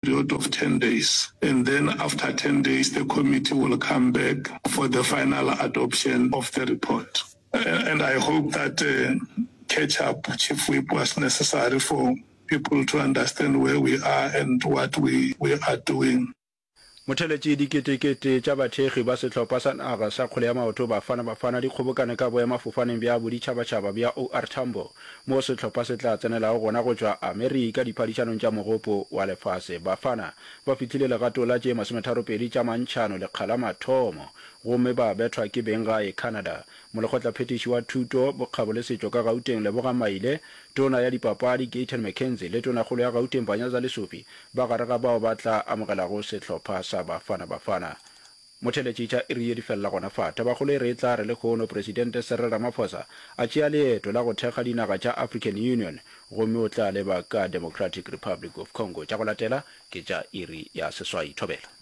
Period of 10 days and then after 10 days the committee will come back for the final adoption of the report. And I hope that catch up, Chief Whip, was necessary for people to understand where we are and what we, we are doing. Motheletši Diketekete tša bathekgi ba sehlopha sa naga sa kgwele ya maoto Bafana Bafana di kgobokane ka boemafofaneng bja boditšhabatšhaba bja OR Tambo moo sehlopha se tla tsenelago gona go tšwa Amerika diphadišanong tša Mogopo wa Lefase. Bafana ba fihlile legatong la tše masometharopedi tša mantšhano lekga la mathomo gomme ba bethwa ke benggae Canada. Molekgotlaphethiši wa Thuto, Bokgabo le Setšo ka Gauteng Lebogang Maile, Tona ya Dipapadi Gayton McKenzie le Tonakgolo ya Gauteng Panyaza Lesufi ba gare ga bao ba tla amogelago sehlopha sa Bafana Bafana. Motheeletši tša iri ye di felela gona fa. Tabakgolo e re e tla re lehono Presidente Cyril Ramaphosa a tšea leeto la go thekga dinaga tša African Union gomme o tla leba ka Democratic Republic of Congo. Tša go latela ke tša iri ya seswai. Thobela.